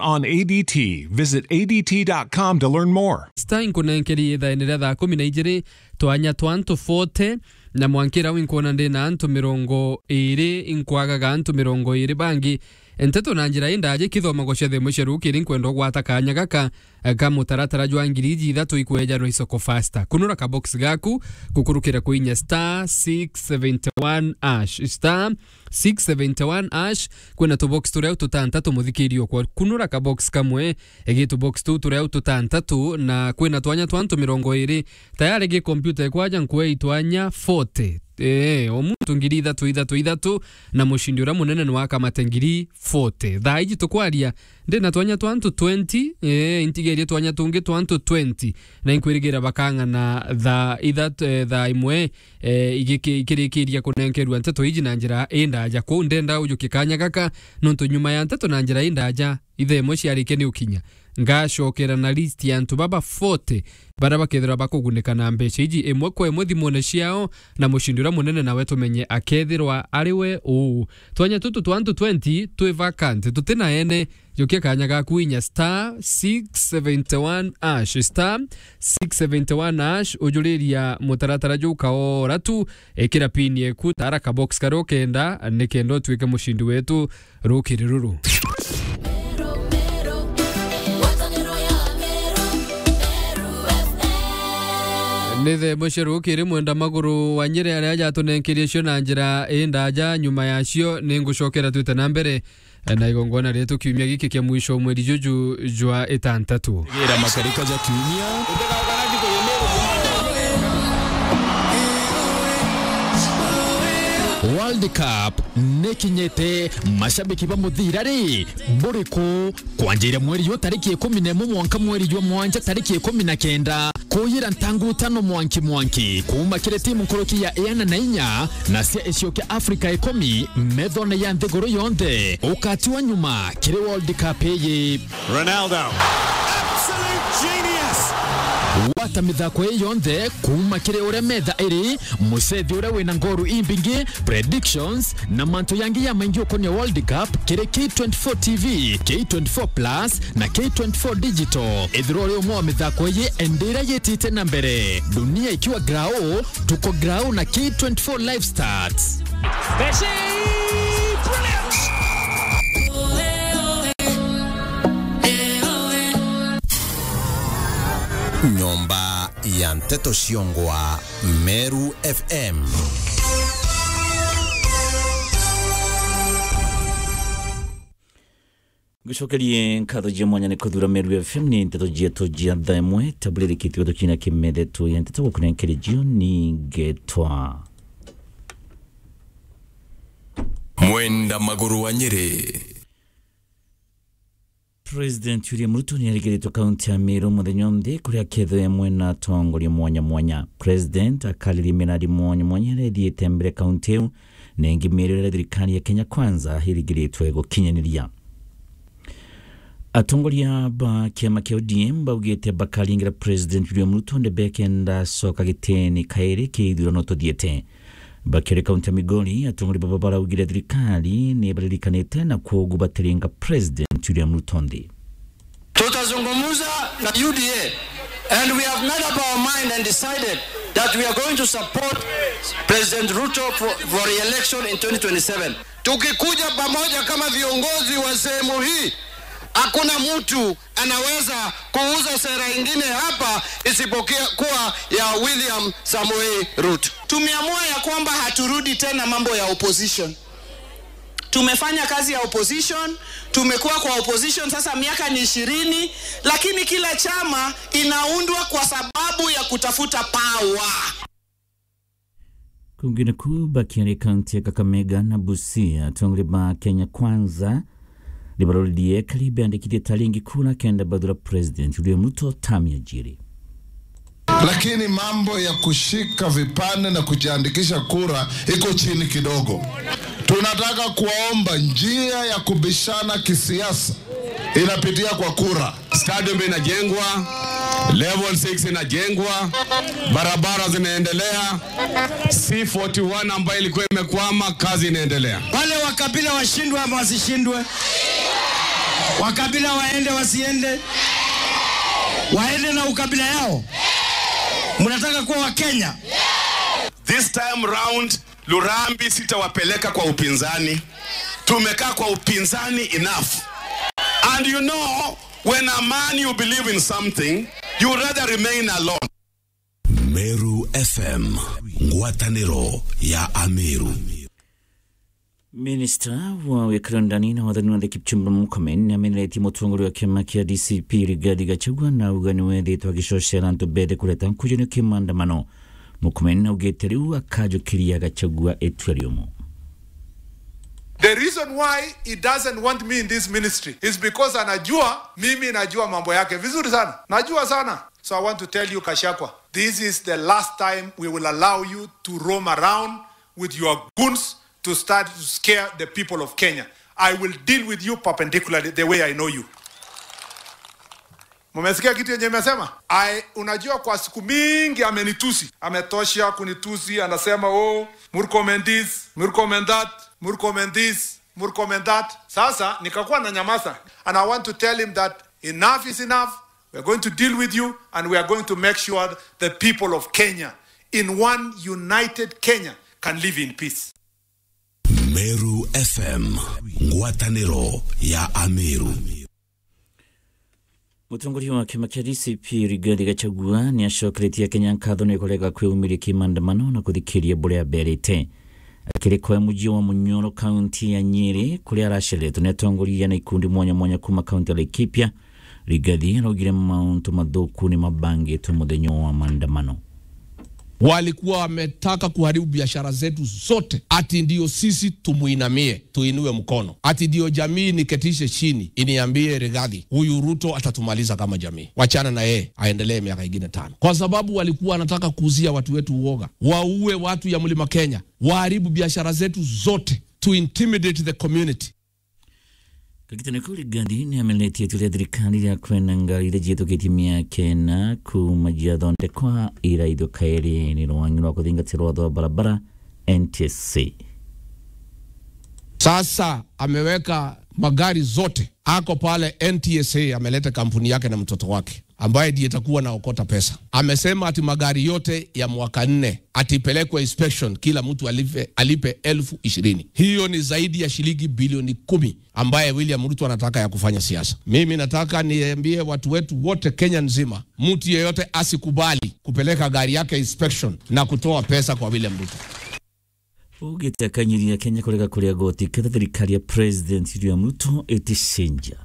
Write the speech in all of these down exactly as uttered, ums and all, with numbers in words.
On A D T. Visit A D T dot com to learn more. Star inkunenkerie ithaene ria thaa kumi na ijiri, twanya twa antu forty, na mwankira winkwona ndi na antu mirongo iri, inkwagaga antu mirongo iri bangi. Nteto na njira indaja ikithomagwa cia themo cia rukiri, nkwenda gwata kanya gaka, eh, ka mutaratara jwa ngiri iji ithatu ikwejanwa isoko fasta. Kunura ka box gaku, gukurukira kuinya star six seventy one hash, star six seventy one hash, kwina tubox turia tutantatu muthikiri okwa. Kunura ka box kamwe, egi tubox tu turia tutantatu, na kwina twanya twa antu mirongo iri. Tayari gi computer ikwaja nkwe itwanya forty. Eh, o muntu ngiri ithatu, ithatu, ithatu, na mucindi uria munene ni wakamate ngiri forty. Thaa iji tukwaria, ndi na twanya twa antu twenty, eh, intigerie twanya tungi twa antu twenty, na inkwirigira bakang'ana thaa ithatu, eh, thaa imwe, eh, igiki-, ikirikiria kunenkerua nteto iji na njira indaja. Kwou ndenda ujukie kanya gaka, nontu nyuma ya nteto na njira indaja, ithaa imwe ciarikia ni ukinya, ngacokera na list ya antu baba forty baria bakethirwa bakugunika na mbeca iji imwe kwa imwe thimune ciao, na mucindi uria munene nawe tumenye akethirwa ari we uu. Twanya tutu twa antu twenty twi vacant, tuti na ene. Jukia kanya gaku inya star six seventy one hash, star six seventy one hash, ujuriria mutaratara juu kaora tu, ikira pin yeku, tara ka box karia ukenda, nikenda utuike mucindi wetu rukiri ruru. Ni themo cia rukiri, Mwenda Maguru wa Nyeri aria jatunenkerie cio na njira indaja. Nyuma yacio, ningucokera twite na mbere na igongona rietu kiumia giki kia mwisho mweri juju jwa itantatu. Gira makarika ja kiumia. World Cup nikinyite, mashabiki ba muthira ri, buri ku? Kwanjira mweri yu tariki ikumi na imwe mwanka mweri jwa mwanja tariki ikumi na kenda, kuyira ntangu tano mwanki mwanki, kuuma kiri timu nkuruki ya iana na inya na cia icio kia Afrika ikumi methone ya nthiguru yonthe, ukatiwa nyuma kiri World Cup iyi. Ronaldo. Absolute genius. Gwata mithako ii yonthe kuuma kiri uria metha iri, mucethi uria wina ngoru imbingi, predictions, na mantu yangi ya maingi ukonia World Cup kiri K twenty-four T V, K twenty-four Plus, na K twenty-four Digital. Ethirwa uri umwe wa mithako iyi, endira yitite na mbere. Dunia ikiwa grau, tuko grau na K twenty-four Live Stats. Messi! Brilliant! Nyomba ya nteto ciongwa, Meru F M. Ngucokerie nkatho cia mwanya ni kuthura Meru F M, ni nteto cietu cia thaa imwe, tabulirikitwe tukina kimethetwo ya nteto gukunenkeria jioni ngetwa Mwenda Maguru wa Nyeri. President William Ruto ni arigiritwe kaunti ya Meru muthenya o nthi, kuria akethirwa amwe na atongoria mwanya mwanya. President akariria miradi mwanya mwanya iria ithiite mbere kaunti iu, na ingi mieri iria thirikari ya Kenya Kwanza irigiritwe gukinyaniria. Atongoria ba kiama kia O D M baugite bakaringira President William Ruto ndebe kenda acoka gitini kairi kia ithurano tuthiite. Bakiri kaunti ya Migori, atongoria baba baraugire thirikari ni baririkanite na kwogu batiringa President William Ruto nthi. Tutazungumza na U D A and we have made up our mind and decided that we are going to support President Ruto for, for re-election in twenty twenty-seven. Tukikuja pamoja kama viongozi wa sehemu hii, hakuna mtu anaweza kuuza sera ingine hapa isipokuwa ya William Samoei Ruto. Tumeamua ya kwamba haturudi tena mambo ya opposition. Tumefanya kazi ya opposition, tumekuwa kwa opposition sasa miaka ni ishirini, lakini kila chama inaundwa kwa sababu ya kutafuta power. Kungine ku bakiaria kaunti ya Kakamega na Busia, atongoria ba Kenya Kwanza ni baroririe kari beandikithie taringi kura kenda bathura President William Ruto term ya jiri. Lakini mambo ya kushika vipande na kujiandikisha kura iko chini kidogo. Tunataka kuwaomba njia ya kubishana kisiasa inapitia kwa kura. Stadium inajengwa, level six inajengwa, barabara zinaendelea, C forty-one ambayo ilikuwa imekwama, kazi inaendelea. Wale wa kabila washindwe ama wasishindwe? Wakabila waende wasiende? Waende na ukabila yao? Mnataka kuwa Wakenya? This time round, Lurambi sitawapeleka kwa upinzani. Tumekaa kwa upinzani enough. And you know, when a man you believe in something, you rather remain alone. Meru F M, ngwatanĩro ya Ameru. Minista wa wikari ndani na wathani wa nthi Kipchumba Murkomen ni ameneretie mutongoria wa kiama kia D C P Rigathi Gachagua na auga ni wethitwe agicocera antu mbere kureta nkujurio kia maandamano. Murkomen augite riu akajukiria Gachagua itua riumu. The reason why he doesn't want me in this ministry is because anajua mimi najua mambo yake vizuri sana. Najua sana. So I want to tell you, Gachagua, this is the last time we will allow you to roam around with your goons to start to scare the people of Kenya. I will deal with you perpendicularly the way I know you. Mumesikia kitu yenye imesema? I, unajua kwa siku mingi amenitusi. Ametosha kunitusi, anasema, "Oh, Murkomen this, Murkomen that, Murkomen this, Murkomen that." Sasa nikakuwa na nyamaza. And I want to tell him that enough is enough. We are going to deal with you and we are going to make sure the people of Kenya in one united Kenya can live in peace. Meru F M, ngwatanĩro ya Ameru. Mutongoria wa kiama kia D C P Rigathi Gachagua ni acokeretie Akenya nkatho ni kurega kwiumiria ki maandamano na kuthikiria buria aberite. Akiri kwa muji wa Munyoro, kaunti ya Nyeri, kuria aracereretwe ni atongoria na ikundi mwanya mwanya kuma kaunti ya Laikipia, Rigathi araugire mauntu mathuku ni mabangitwe muthenya wa maandamano. Walikuwa wametaka kuharibu biashara zetu zote, ati ndio sisi tumuinamie, tuinue mkono, ati ndio jamii niketishe chini iniambie, "Rigathi, huyu Ruto atatumaliza kama jamii, wachana na yeye, aendelee miaka ingine tano," kwa sababu walikuwa wanataka kuuzia watu wetu uoga, waue watu ya Mlima Kenya, waharibu biashara zetu zote, to intimidate the community. Kagitene kau Rigathi ni ameneretie itua ria thirikari ria kwenda ngari iria ciitukitie miaka ina kuma ciathondekwa iraithio kairi ni rwang'i rwa kuthingatia rwatho rwa barabara, N T S A. Sasa ameweka magari zote, ako pale N T S A, ameleta kampuni yake na mtoto wake ambaye ndiye atakuwa naokota pesa. Amesema ati magari yote ya mwaka nne ati ipelekwe inspection, kila mtu alipe, alipe elfu ishirini. Hiyo ni zaidi ya shilingi bilioni kumi ambaye William Ruto anataka ya kufanya siasa. Mimi nataka niambie watu wetu wote Kenya nzima, mtu yeyote asikubali kupeleka gari yake inspection na kutoa pesa kwa William Ruto. Ugite akanyiria Kenya kurega kuria goti ketha thirikari ya President William Ruto iticenjia.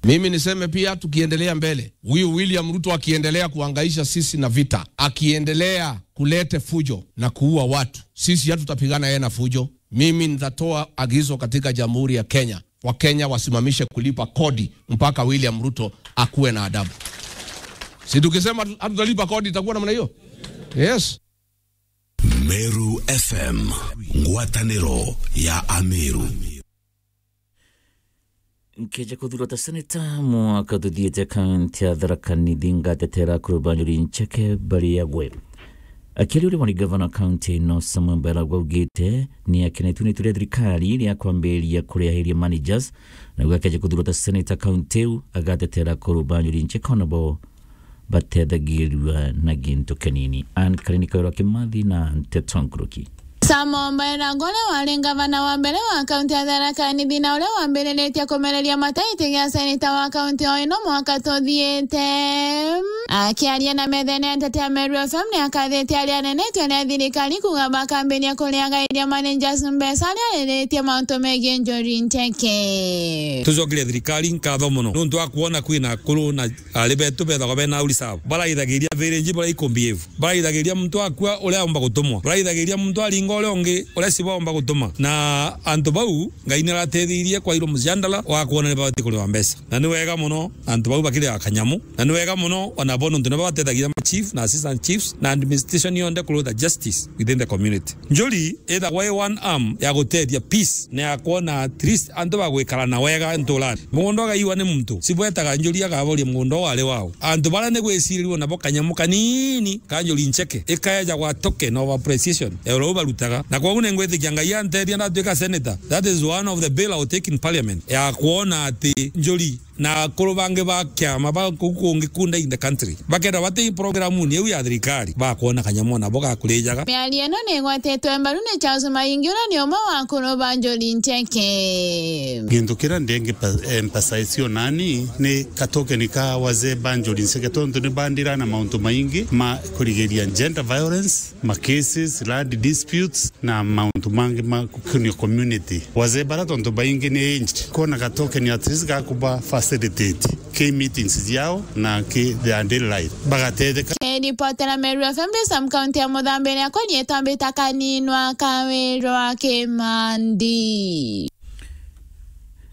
Mimi niseme pia, tukiendelea mbele, huyu William Ruto akiendelea kuhangaisha sisi na vita, akiendelea kulete fujo na kuua watu, sisi hatutapigana yeye na fujo. Mimi nitatoa agizo katika Jamhuri ya Kenya, Wakenya wasimamishe kulipa kodi mpaka William Ruto akuwe na adabu. Si tukisema hatu-, hatutalipa kodi, itakuwa namna hiyo? Yes. Meru F M, ngwatanĩro ya Ameru. Nkeja kuthurwa ta seneta mwaka tuthiite, kaunti ya Tharaka Nithi, ngatetera Kurubanjuri Ncheke Bariagwe. Akiaria uria wari gavana kaunti ino, Samuel Mbairagwa augite ni akenetue ni itua ria thirikari ria kwambiriria kuriahiria managers, na auga akeja kuthurwa ta seneta kaunti iu, agatetera Kurubanjuri Ncheke, ona bo batethagirua na gintu kinini. Ann Karini, Kawira Kimathi na Nteto Nkuruki. Samuel Mbairagwa, uria wari ngavana wa mbere wa kaunti ya Tharaka Nithi na uria wambiriritie kumereria mata giti gia seneta wa kaunti o ino mwaka tuthiite, akiaria na methene ya ntete ya Meru F M, ni akathitie aria anene itua ria thirikari kuuga bakambiria kuriagairia managers mbeca aria ariritie mauntu megii Njuri Ncheke. Tucokerie thirikari nkatho mono nuntu wa kwona kwina akuru na ari betu bethagwa bena auri sabo, baraithagiria village, baria ikumbi ivu, baraithagiria muntu akua uria aumba gutumwa, baraithagiria muntu aringa uria ungi uria cibo aumba gutuma. Na antu bau Ngai ni arateithirie kwairwo muciandala wa kwona ni babati kuriwa mbeca. Na ni wega mono antu bau bakiriwa kanyamu, na ni wega mono ona bo nuntu nibo batethagiria chief na assistant chiefs na administration yonthe kurutha justice within the community. Njuri ithagwa i one arm ya gutethia peace na ya kwona at least antu bagwikara na wega nturani. Mugunda ugaiwa ni muntu, sibwetaga njuri agaboria mugunda uu ari wao. Antu baria ni gwicirirua nabo kanyamu kanini ka njuri ncheke, ikaejagwa token of appreciation ya uria barutaga. Na kwoguo ni ngwitikia Ngai antethia ndatuika senator, that is one of the bill I will take in parliament, ya kwona ati njuri na akuru bangi ba kiama ba kuu kungi kunda in the country bakenda bati programuni iu ya thirikari, bakwona kanyamu nabo gakurijaga. Miario ino ni igwetetwe mbaru ni Charles Maingi, uria ni umwe wa akuru ba njuri ncheke. Gintu kiria ndingi-emphasize o nani ni katokeni ka wazee ba njuri ncheke, tontu ni bandira na mauntu maingi ma kurigiria gender violence, ma cases, land disputes, na mauntu mangi ma gukunia community. Wazee bara tontu baingi ni aged, kwona gatokeni at least gakuba facilitate ki meetings ciao na ki their daily life, bagatetheka. Kiripotera Meru F M, ndi Sam, kaunti ya Muthambi, ni akwa nietwa Mbita Kaninwa Kawirwa Kimandi.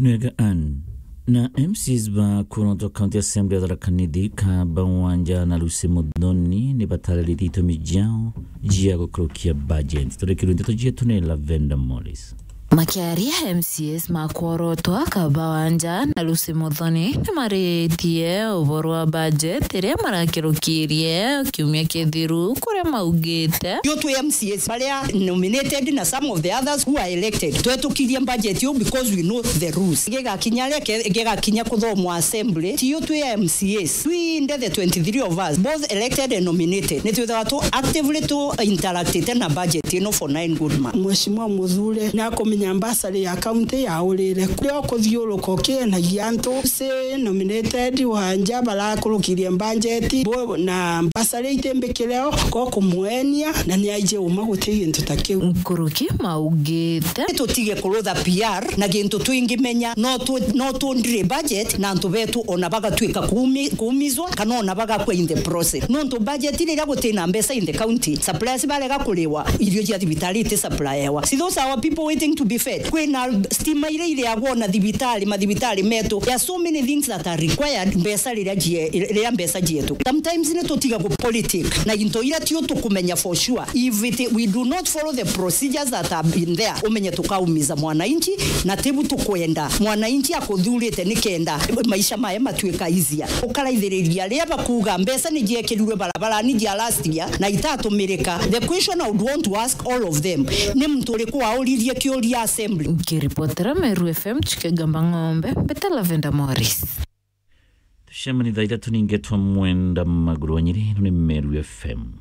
Nwega Ann. Na M C As ba kurotwa County Assembly ya Tharaka Nithi, Kaba Wanja na Lucy Muthoni ni batariritie itumi ciao cia gukurukia budget. Turikirwe ndeto cietu ni Lavender Morris. Makiaria M C As ma kworotwa, Kaba Wanja na Lucy Muthoni ni maritie uboro wa budget iria marakirukirie kiumia kithiru, kuria maugite. Yo twi M C As baria nominated na some of the others who are elected, twetũkirie budget iu because we know the rules. Gigakinya ria ke-, gigakinya kuthomwa assembly, tiyo twi M C As. Twinthe the twenty-three of us, both elected and nominated, ni twithagwa tu actively tu interactite na budget ino for nine good months. Mheshimiwa Muthure nakumenya mbasari ya county yaurire. Kuria ukuthiuruka ukienagia antu, si nominated, Wanja barakurukirie budget, bo na mbasari itimbikire o, ko kumwenia, na ni aije uma guti gintu ta kiu. Nkuruki maugite. Tutige kurutha P R na gintu twingimenya, no tu-, no tundire budget na antu betu ona bagatuika kuumi-, kuumizwa kana ona bagakua in the process. Nontu budget riria gutina mbeca in the county, suppliers barega kuriwa, irio cia thibitari iti supplyewa. See, those are our people waiting to be fed. Kwina stima iria ireagwa na thibitari, mathibitari metu. There are so many things that are required mbeca riria cie-, riria mbeca cietu. Sometimes ni tutiga ku politic na into iria tio tukumenya for sure. If it, we do not follow the procedures that have been there, umenye tukaumiza mwananchi, na tibu tukwenda. Mwananchi akuthurite nikenda maisha mae matuika easier. Ukaraithiriria ria bakuga mbeca ni ciekirirwe barabarani cia last year na itatumirika. The question I would want to ask all of them, ni muntu uriku wauririe kiuria assembly? Nkiripotera Meru F M, Chikegamba Ng'ombe, mbeta Lavender Morris. Tucemani thaa ithatu ningetwa Mwenda Maguru wa Nyeri, ino ni Meru F M.